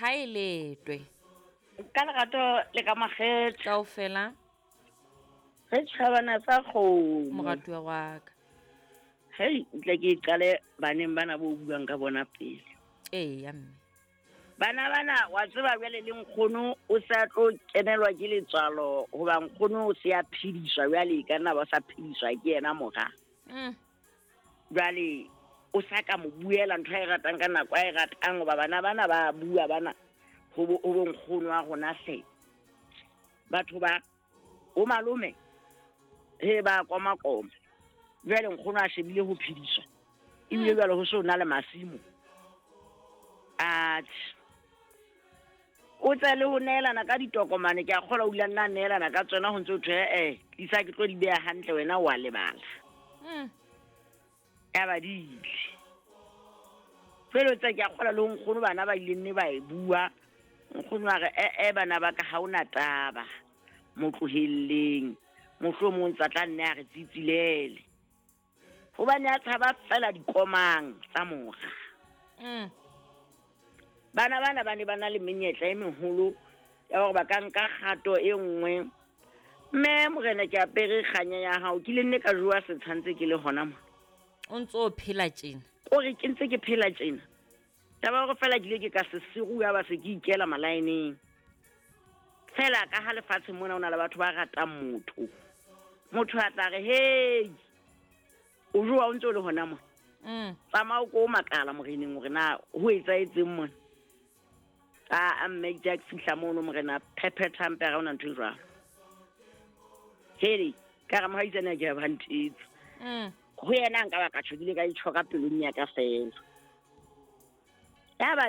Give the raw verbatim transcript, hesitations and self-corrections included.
Ha e letwe. Ka lerato le ka makgethe. Kaofela. Re tjhabana sa kgomo. Moratuwa wa ka. Hei, ntle ke qale baneng bana bo buang ka bona pele. Eya mme. Bana bana wa tseba jwale le nkgono o sa tlo kenelwa ke letswalo hoba nkgono o se a phediswa jwale e ka nna ba sa phediswa ke yena mora. Mm. Jwale o sa ka mo buela ntho a e ratang ka nako a e ratang hoba bana bana ba bua bana ho bo ho bo nkgono wa rona hle. Batho ba o malome he ba koma koma. Jwale nkgono a shebile ho phediswa. Ebile jwale ho so na le masimo. Atjhe. O tsa le ho neelana ka ditokomane ke a kgolwa o ile a nna a neelana ka tsona ho ntse ho thwe eh tlisa ke tlo di beha hantle wena wa lebala. Mm. Ya ba di ile. Jwale tsa ke a kgolwa le ho nkgono bana ba ile nne ba e bua. Nkgono a re eh eh bana ba ka ha ona taba. Mo tlohelleng. Mohlomong tsa tla nne a re tsitsilele. Hobane a tshaba fela dikomang tsa mora. Mm. Bana bana ba ne ba na le menyetla e meholo ya hore ba ka nka kgato e nngwe. Mme morena ke apere kganya ya hao, ke ile nne ka jowa setsha ntse ke le hona mona. O ntso phela tjena? O re ke ntse ke phela tjena. Taba ya hore fela ke ile ke ka se siruwa ba se ke ikela malaeneng. Fela ka ha lefatshe mona ho na le batho ba ratang motho. Motho a tla re, hey, o jowa o ntse o le hona mona. Mm. Tsamaya o ko makala moreneng hore na ho etsahetseng mona. A mme ke fihla mono morena phephetha mpe ha ona ntho e jwalo. Hele, ka re mohaisane ke ba ntetse. Mm. Ho yena nka ba ka tjho, ke ile ka itjho ka pelong ya ka fela. Ya ba